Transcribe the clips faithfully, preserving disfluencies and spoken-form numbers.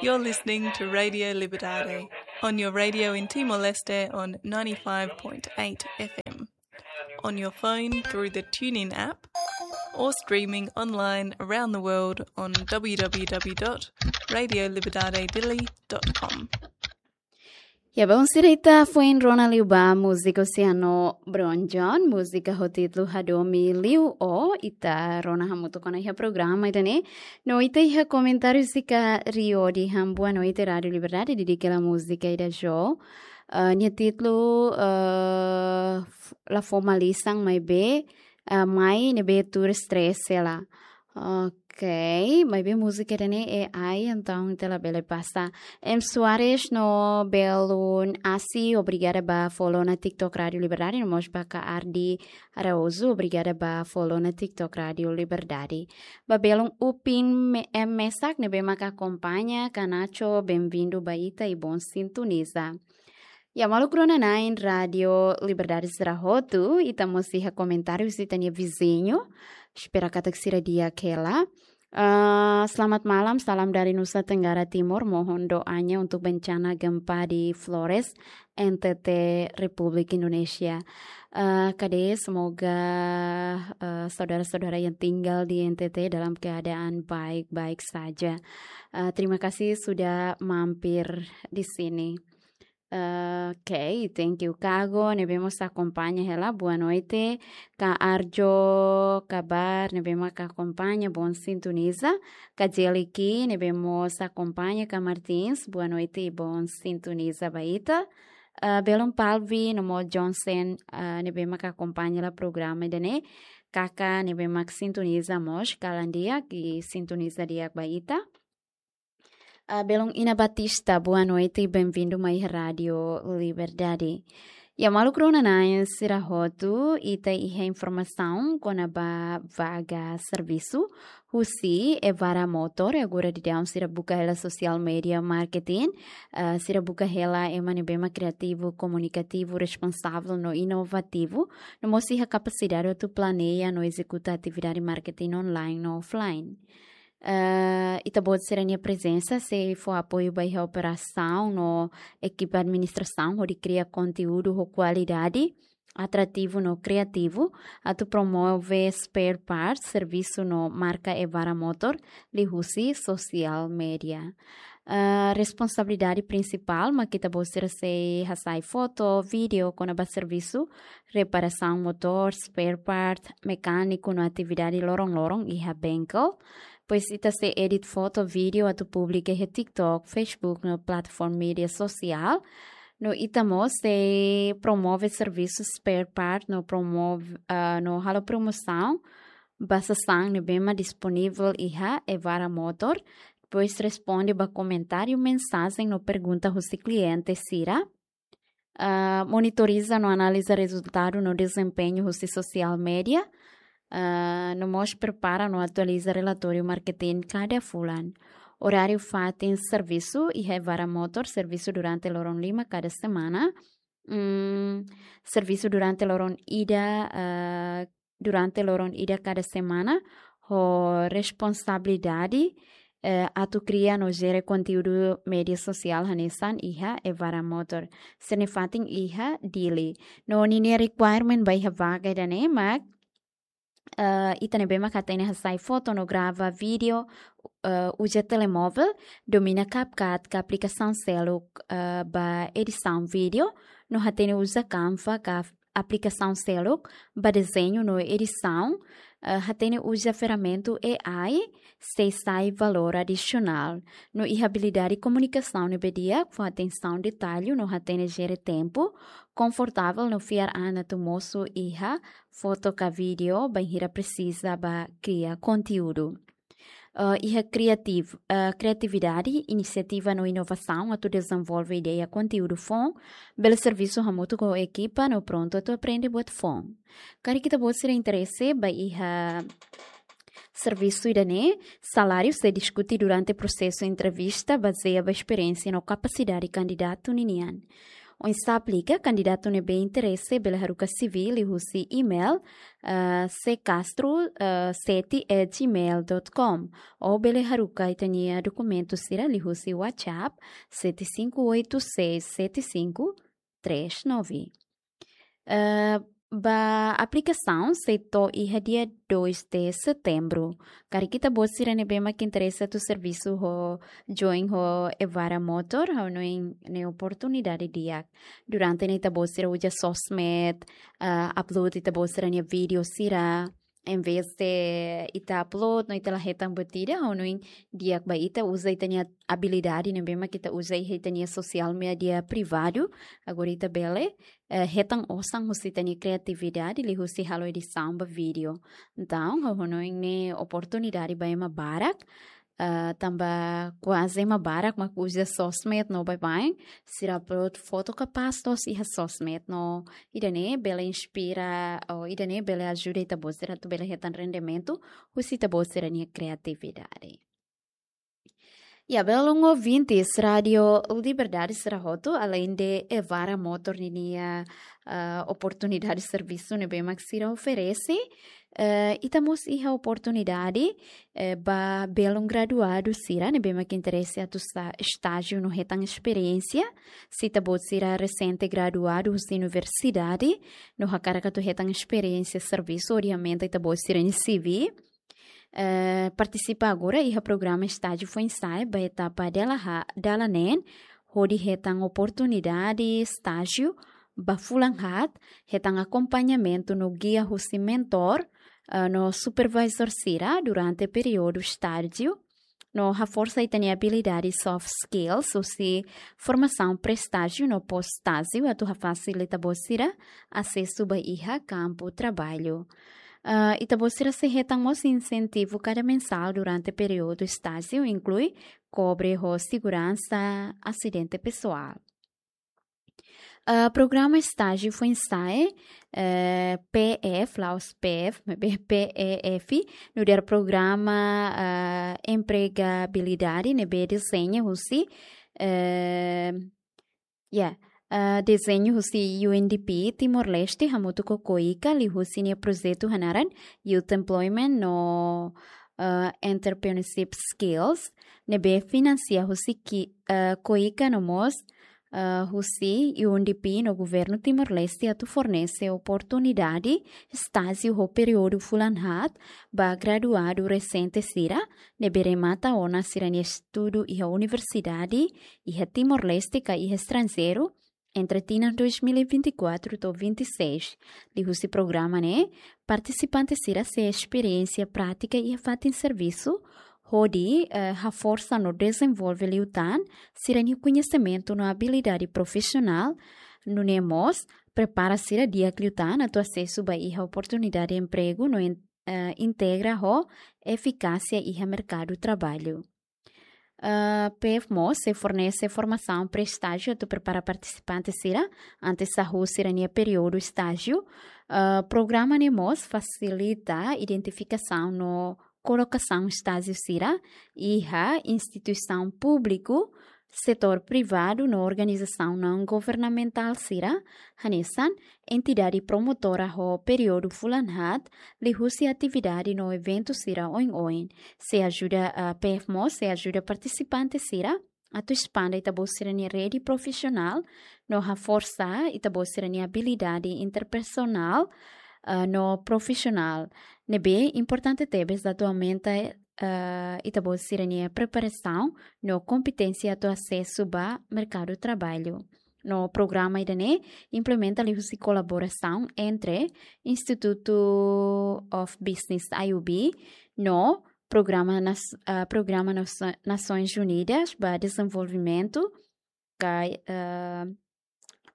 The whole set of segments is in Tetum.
You're listening to Radio Liberdade on your radio in Timor-Leste on ninety-five point eight F M, on your phone through the TuneIn app, or streaming online around the world on w w w dot radio liberdade dili dot com. Ya, bom, sira, ita foin rona liu ba múzika husi Oceano Brown John, múzika ho títulu Hadomi Liu Ó, ita rona hamutuk ona iha programa ida-ne'e. No ita iha komentáriu husi Rio de Hambuan, no ita Rádio Liberdade, dedika hela múzika ida-ne'e. Eh, nia títulu, eh, f-, la fó malisan maibé, eh, mai ne'ebé tuur stress hela. Ok, maibé múzika ida-ne'e A I, entaun ita labele pasa. M Soares no belun Asi, obrigada ba follow ona TikTok Rádio Liberdade, no mós ba Ka Ardi Araújo, obrigada ba follow ona TikTok Rádio Liberdade. Ba belun Upin me-, M Mesak, ne'ebé maka akompaña, Ka Nacho, bem-vindo ba ita i bom sintoniza. Ya, maluk rona-na'in Rádio Liberdade sira hotu, ita mós iha komentáriu husi ita-nia viziñu. Espera katak sira di'ak hela. Ah, selamat malam, salam dari Nusa Tenggara Timur. Mohon doanya untuk bencana gempa di Flores, N T T, Republik Indonesia. Ah, kade, semoga, ah, saudara-saudara yang tinggal di N T T dalam keadaan baik-baik saja. Ah, terima kasih sudah mampir di sini. Eh, ok, thank you. Kago, ne'ebé mós akompaña hela, boa noite. Ka Arjo Kabar, ne'ebé maka akompaña, bom sintoniza. Ka Jeliki, ne'ebé mós akompaña, Ka Martins, boa noite i bom sintoniza ba ita. Eh, belun Palvi, no mós Johnson, eh, ne'ebé maka akompaña hela programa ida-ne'e. Kaka, ne'ebé mak sintoniza mós, kalan di'ak i sintoniza di'ak ba ita. Ah, belun Ina Batista, boa noite i bem-vindo mai Rádio Liberdade. Ya, maluk rona-na'in sira hotu, ita iha informasaun kona-ba vaga servisu husi Evara Motor, agora daudaun sira buka hela social media marketing, ah, sira buka hela ema ne'ebé mak kriativu, komunikativu, responsavel no inovativu, no mós iha kapasidade atu planeia no ezekuta atividade marketing online no offline. Eh, ita-boot sira-nia prezensa sei fó apoiu ba iha operasaun no ekipa administrasaun hodi kria konteúdu ho kualidade, atrativu no kriativu, atu promove spare parts, servisu no marka Evara Motor liuhusi social media. Eh, responsabilidade prinsipál mak ita-boot sira sei hasai foto, vídeo kona-ba servisu reparasaun motór, spare part, mekániku no atividade loron-loron iha bengkel. Depois ita sei edit foto, vídeo atu publika iha TikTok, Facebook no plataforma média sosiál. No ita mós sei promove servisu spare part no promove, ah, no halo promosaun ba sasán ne'ebé mak disponivel iha Evara Motor. Depois responde ba komentáriu, mensajen no pergunta husi kliente sira. Ah, monitoriza no analiza rezultadu no dezempeñu husi social media. Ah, no mós prepara no atualiza relatóriu marketing kada fulan. Oráriu fatin servisu iha Evara Motor, servisu durante loron lima kada semana. Mm, servisu durante loron ida, ah, durante loron ida kada semana, ho responsabilidade, eh, atu kria no jere konteúdu média sosiál hanesan iha Evara Motor. Sira-nia fatin iha Dili. No ninia requirement ba iha vaga ida-ne'e mak, eh, ita ne'ebé mak hatene hasai foto no grava vídeo, eh, uza telemóvel, domina CapCut ka aplikasaun seluk, eh, ba edisaun vídeo, no hatene uza Canva ka aplikasaun seluk ba dezeñu no edisaun, eh, hatene uza ferramentu A I, sei sai valór adisionál. No iha abilidade komunikasaun ne'ebé di'ak, fó atensaun detallu no hatene jere tempu, konfortavel no fiar an atu mosu iha foto ka vídeo bainhira presiza ba kria konteúdu. Eh, iha kreativ-, eh, kriatividade, inisiativa no inovasaun atu dezenvolve ideia konteúdu foun, bele servisu hamutuk ho ekipa no prontu atu aprende buat foun. Karik ita-boot sira interese ba iha servisu ida-ne'e, saláriu sei diskute durante prosesu entrevista, bazeia ba esperiénsia no kapasidade kandidatu ninian. Oinsá aplika? Kandidatu ne'ebé interese bele haruka C V liuhusi email, eh, ccastro, eh, sete at gmail dot com, ou bele haruka ita-nia dokumentu sira liuhusi WhatsApp sete cinco oito seis sete cinco três nove. Eh, ba aplikasaun sei to'o iha dia dois de setembro. Karik ita-boot sira ne'ebé mak interese atu servisu ho join ho Evara Motor, ha'u hanoin ne'e oportunidade di'ak. Durante ne'e ita-boot sira uza sosmed, eh, upload ita-boot sira-nia vídeo sira, em vez de ita upload no ita la hetan buat ida, ha'u hanoin di'ak ba ita uza ita-nia abilidade ne'ebé mak ita uza iha ita-nia sosiál média privadu. Agora ita bele, eh, hetan osan husi ita-nia kriatividade liuhusi halo edisaun ba vídeo. Entaun, ha'u hanoin ne'e oportunidade ba ema barak, eh, tanba kuaze ema barak mak uza sosmed no baibain, sira upload foto kapás loos iha sosmed no ida-ne'e bele inspira, ou ida-ne'e bele ajuda ita-boot sira atu bele hetan rendimentu husi ita-boot sira-nia kriatividade. Ya, belun ouvintes Rádio Liberdade sira hotu, aleinde Evara Motor ninia, ah, oportunidade servisu ne'ebé mak sira oferese, eh, ita mós iha oportunidade, eh, ba belun graduadu sira ne'ebé mak interese atu sa-, estájiu no hetan esperiénsia. Se ita-boot sira resente graduadu husi universidade no hakarak atu hetan esperiénsia servisu hodi aumenta ita-boot sira-nia C V, eh, partisipa agora iha programa estájiu foin-sa'e ba etapa dala ha-, dala neen, hodi hetan oportunidade estájiu ba fulan haat, hetan akompañamentu no gia husi mentor, eh, no supervisór sira durante períodu estájiu, no haforsa ita-nia abilidade soft skills husi formasaun pré-estájiu no pós-estájiu atu hafasil ita-boot sira asesu ba iha kampu traballu. Ah, ita-boot sira sei hetan mós insentivu kada mensál durante períodu estájiu, inklui kobre ho seguransa asidente pesoál. Ah, programa estájiu foin-sa'e, eh, P F, la'ós P F, maibé P E F, nu'udar programa, ah, empregabilidade ne'ebé dezeña husi, eh, ya, ah, dezeña husi U N D P Timor-Leste hamutuk ho KOICA liuhusi nia projetu hanaran Youth Employment no, ah, Entrepreneurship Skills, ne'ebé finansia husi ki-, ah, KOICA no mós, ah, husi U N D P no Governu Timor-Leste atu fornese oportunidade estájiu ho períodu fulan haat ba graduadu resente sira ne'ebé remata ona sira-nia estudu iha universidade, iha Timor-Leste ka iha estranjeiru, entre tinan dois mil e vinte e quatro to'o vinte e seis. Liuhusi programa ne'e, partisipante sira sei esperiénsia prátika iha fatin servisu, hodi, eh, haforsa no dezenvolve liután sira-nia koñesimentu no abilidade profisionál, nune'e mós prepara sira di'ak liután atu asesu ba iha oportunidade empregu no in-, eh, integra ho efikásia iha merkadu traballu. Ah, P F mós sei fornese formasaun pré-estájiu atu prepara partisipante sira antes hahú sira-nia períodu estájiu. Ah, programa ne'e mós fasilita identifikasaun no kolokasaun estájiu sira iha instituisaun públiku, setór privadu no organizasaun naun-governamentál sira, hanesan entidade promotora ho períodu fulan haat, liuhusi atividade no eventu sira oin-oin. Sei ajuda, ah, P F mós sei ajuda partisipante sira atu espande ita-boot sira-nia rede profisionál no haforsa ita-boot sira-nia abilidade interpesoál, ah, no profisionál. Ne'ebé importante tebes atu aumenta, ah, ita-boot sira-nia preparasaun no kompeténsia atu asesu ba merkadu traballu. No programa ida-ne'e implementa liuhusi kolaborasaun entre Institute of Business, I O B, no Programa Nas-, ah, Programa Nas-, Nasoins Unidas ba Dezenvolvimentu, ka, ah,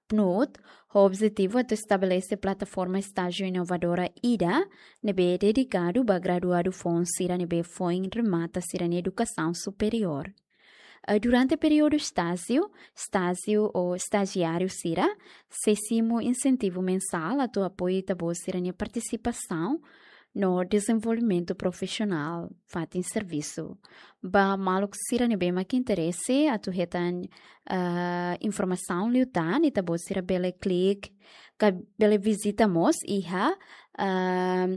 PNUD, ho objetivu atu estabelese plataforma estájiu inovadora ida ne'ebé dedikadu ba graduadu foun sira ne'ebé foin remata sira-nia edukasaun superiór. Ah, durante períodu estájiu, estájiu ou estajiáriu sira sei simu insentivu mensál atu apoia ita-boot sira-nia partisipasaun no dezenvolvimentu profisionál fatin servisu. Ba maluk sira ne'ebé mak interese atu hetan, ah, informasaun liután, ita-boot sira bele klik, ka bele vizita mós iha, ah,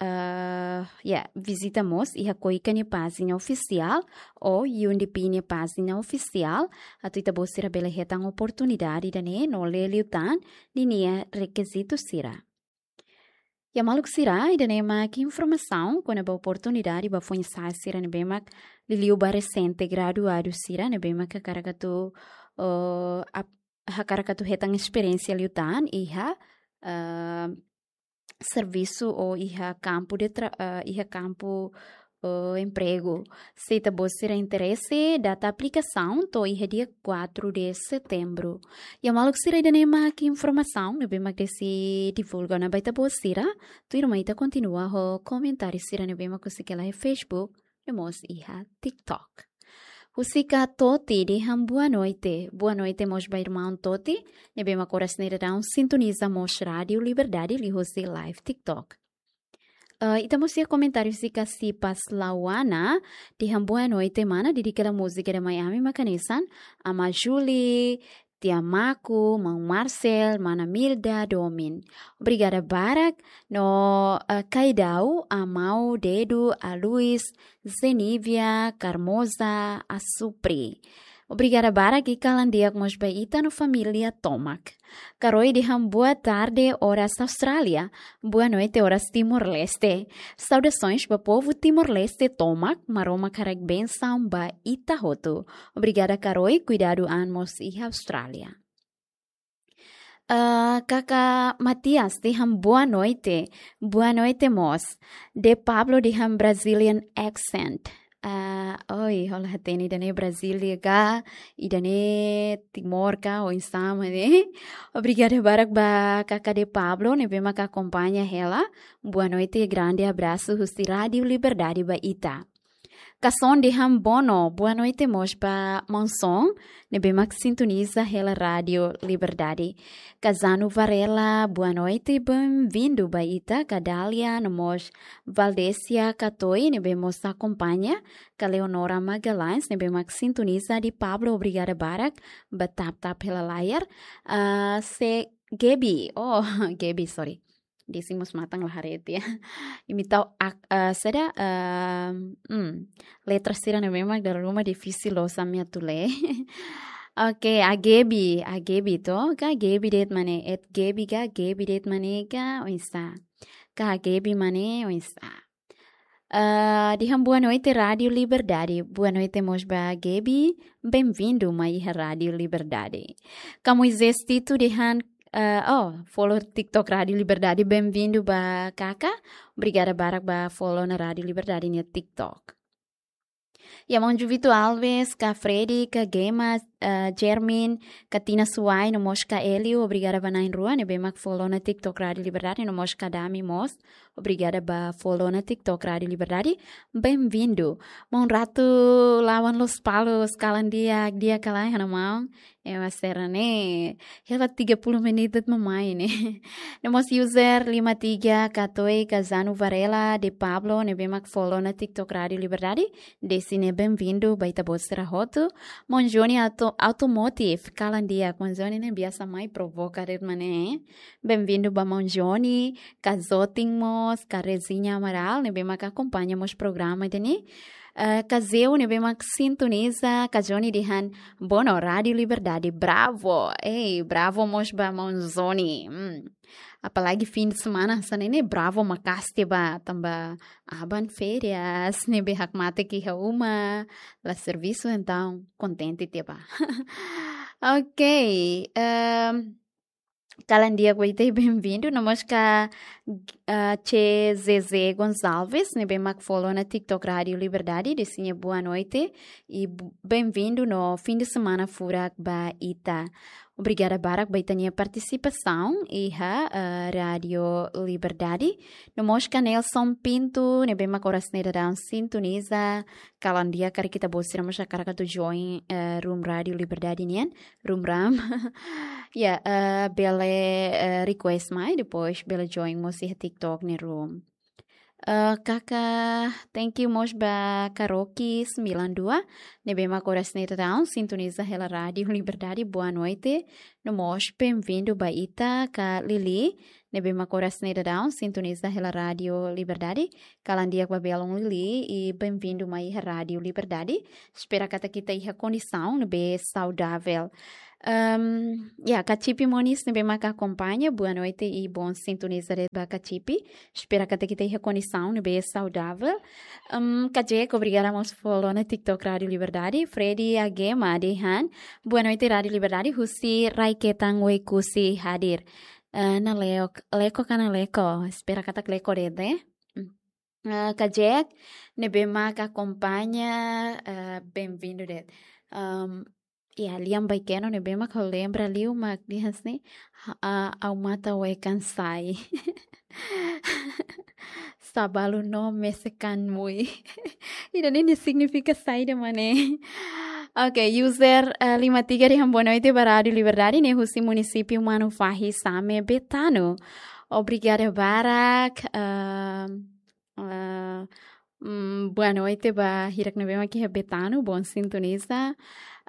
ah, ya, vizita mós iha KOICA nia pájina ofisiál ou UNDP nia pájina ofisiál, atu ita-boot sira bele hetan oportunidade ida-ne'e no lee liután ninia rekizitu sira. Ya maluk sira, ida-ne'e mak informasaun kona-ba oportunidade ba foin-sa'e sira ne'ebé mak liuliu ba resente graduadu sira ne'ebé mak hakarak atu, eh, ap-, hakarak atu hetan esperiénsia liután iha, eh, servisu ou iha kampu de tra-, eh, iha kampu, eh, empregu. Se ita-boot sira interese, data aplikasaun to'o iha dia quatro de setembro. Ya maluk sira, ida-ne'e mak informasaun ne'ebé mak Desi divulga ona ba ita-boot sira. Tuirmai ita kontinua ho komentáriu sira ne'ebé mak husik hela iha Facebook, no mós iha TikTok. Husik Toti dehan boa noite. Boa noite mós ba irmaun Toti, ne'ebé mak oras ne'e daudaun sintoniza mós Rádiu Liberdade liuhusi live TikTok. Eh, ita mós iha komentáriu husik Sipas Lawana, dehan boa noite mana, dedika hela múzika ida mai ami mak hanesan, Ama Julie, Tia Maku, Maun Marcel, Mana Milda, domin. Obrigada barak, no, eh, Kaidau, Amau, Dedu, Aluis, Zenívia, Carmoza, Asupri. Obrigada barak i kalan di'ak mós ba ita no família tomak. Karoi dehan boa tarde, oras Austrália. Boa noite, oras Timor-Leste. Saudações ba povu Timor-Leste tomak, Maromak haraik bensaun ba ita hotu. Obrigada Karoi, kuidadu an mós iha Austrália. Ah, Kaka Matias dehan boa noite. Boa noite mós. De Pablo dehan Brazilian accent. Ah, oi, hola hatene ida-ne'e Brasília ka, ida-ne'e Timor ka, oinsá mak ne'e. Obrigada barak ba Kaka De Pablo, ne'ebé mak akompaña hela. Boa noite, grande abraço husi Rádiu Liberdade ba ita. Kason dehan bono, boa noite mós ba Maun Son, ne'ebé mak sintoniza hela Rádiu Liberdade. Kazanu Varela, boa noite, bem-vindo ba ita. Kadália, no mós Valdécia Katoi, ne'ebé mós akompaña. Ka Leonora Magalhães, ne'ebé mak sintoniza. De Pablo, obrigada barak ba tap-tap hela layar. Ah, se Gaby, oh, Gaby, sorry. Desi mós matan la haree tiha. Imi tau ak-, ah, saida, ah, hmm, letra sira-ne'e memang dala ruma difisil loos ami atu lee. Oke, a Gaby, a Gaby to, ka Gaby de'it mak ne'e, at Gaby ka, Gaby de'it mak ne'e ka, oinsá. Ka Gaby mak ne'e, oinsá. Ah, dehan boa noite, Rádiu Liberdade. Boa noite mós ba Gaby. Bem-vindo mai iha Rádiu Liberdade. Ka Moisés Tito dehan, ah, oh, follow TikTok Rádiu Liberdade. Bem-vindo ba Kaka. Obrigada barak ba follow ona Rádiu Liberdade nia TikTok. Ya, Maun Juvito Alves, ka Freddy, ka Gema, ah, Jermin, ka Tina Suai, no mós ka Elio, obrigada ba na'in-rua ne'ebé mak follow ona TikTok Rádiu Liberdade, no mós ka Dami mós. Obrigada ba follow ona TikTok Rádiu Liberdade. Bem-vindo. Maun Ratu Lawan Lospalos, kalan di'ak, di'ak ka lae, ha'u-nia maun. Ema sira-ne'e, hela tiga puluh menit de'it mak mai ne'e. No mós user lima tiga Katoi, Kazanu Varela, De Pablo, ne'ebé mak follow ona TikTok Rádiu Liberdade. Desi ne'e bem-vindo ba ita-boot sira hotu. Maun Johnny Auto-, Automotive, kalan di'ak, Maun Johnny ne'e biasa mai provoka de'it mak ne'e. Bem-vindo ba Maun Johnny, ka Zotin mós, ka Rezinha Amaral, ne'ebé mak akompaña mós programa ida-ne'e. Eh, ka Zeu ne'ebé mak sintoniza, ka Johnny dehan, bono, Rádiu Liberdade, bravo. Ei, bravo mós ba Maun Johnny. Hmm. Apalagi fim de semana, hanesan ne'e bravo maka'as tiha ba, tanba aban férias, ne'ebé hakmatek iha uma, la servisu, entaun kontente tiha ba. Ok, ehm, kalan di'ak ba ita, bem-vindo. No mós ka, ah, C Z Z Gonçalves, ne'ebé mak follow ona TikTok Rádiu Liberdade, desi nia boa noite i bu-, bem-vindo no fim de semana furak ba ita. Obrigada barak ba ita-nia partisipasaun iha, ah, Rádiu Liberdade. No mós ka Nelson Pinto, ne'ebé mak oras ne'e daudaun sintoniza, kalan di'ak karik ita-boot sira mós hakarak atu join, eh, room Rádiu Liberdade nian, room ram. Ya, eh, bele, eh, request mai, depois bele join mós iha TikTok nia room. Eh, kaka, thank you mós ba Karoki sembilan dua, ne'ebé mak oras ne'e daudaun sintoniza hela Rádiu Liberdade, boa noite. No mós bem-vindo ba ita ka Lili, ne'ebé mak oras ne'e daudaun sintoniza hela Rádiu Liberdade. Kalan di'ak ba belun Lili, i bem-vindo mai iha Rádiu Liberdade. Espera katak ita iha kondisaun ne'ebé saudavel. Ehm, ya, Kacipi Moniz ne'ebé mak akompaña, boa noite i bom sintoniza de'it ba Kacipi. Espera katak ita iha kondisaun ne'ebé saudavel. Ehm, Kajek, obrigada mós fó lona TikTok Rádiu Liberdade. Freddy Agema dehan, boa noite Rádiu Liberdade, husi Rai-Ketan Oekusi hadir. Eh, Naleko, Leko ka Naleko? Espera katak Leko de'it, eh? Ah, Kajek, ne'ebé mak akompaña, ah, bem-vindo de'it. Ehm, ya, Lian Baikeno ne'ebé mak ha'u lembra liu mak dehan hanesan ne'e, ha-, ah, ha'u matan wekan sai. Sabalu no mesekan mui. Ida-ne'e nia signifika saida mak ne'e? Oke, user, eh, lima tiga dehan boa noite ba Rádiu Liberdade, ne'e husi munisípiu Manufahi, Same, Betano. Obrigada barak, ehm, eh, mm, boa noite ba hirak ne'ebé mak iha Betano, bom sintoniza.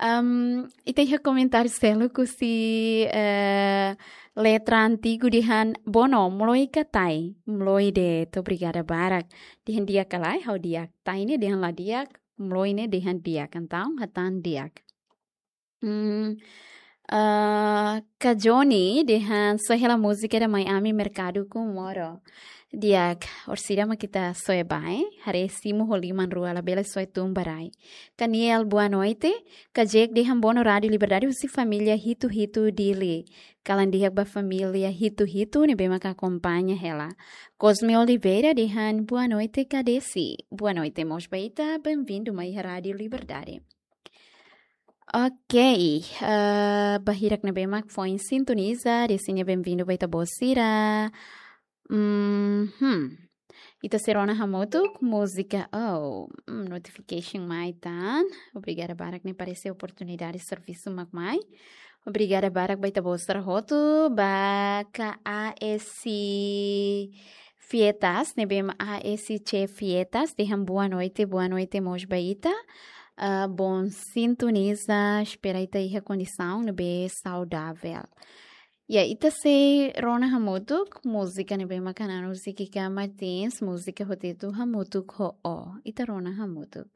Ehm, ita iha komentáriu seluk husi, eh, Letra Antigu dehan, bono, mloi ka tai? Mloi de'it, obrigada barak. Dehan di'ak ka lae? Ha'u di'ak. Tai ne'e dehan la di'ak, mloi ne'e dehan di'ak. Entaun, hatán di'ak. Hmm, eh, Kajoni dehan, soe hela múzika ida mai ami Merkadu Comoro. Di'ak, orsida mak ita soe ba, eh? Haree simu ho liman rua, labele soe tun ba rai. Kaniel, boa noite. Kajek dehan bono Rádiu Liberdade husi família Hitu-Hitu Dili. Kalan di'ak ba família Hitu-Hitu ne'ebé mak akompaña hela. Cosme Oliveira dehan, boa noite, Kadesi. Boa noite mós ba ita, bem-vindo mai iha Rádiu Liberdade. Ok, eh, ba hirak ne'ebé mak foin sintoniza, Desi nia bem-vindo ba ita-boot sira. Mhm. Ita sei rona hamutuk múzika. Oh, mm, notification mai tan. Obrigada barak, ne'e parese oportunidade servisu mak mai. Obrigada barak ba ita-boot sira hotu, ba K A S Fietas, ne'ebé mak A S C Fietas, dehan boa noite, boa noite mós ba ita. Ah, bom sintoniza, espera ita iha kondisaun ne'ebé saudavel. Ya, ita sei rona hamutuk múzika ne'ebé mak Ana Lúcia Kika Martins, múzika ho títulu Hamutuk ho Ó. Ita rona hamutuk.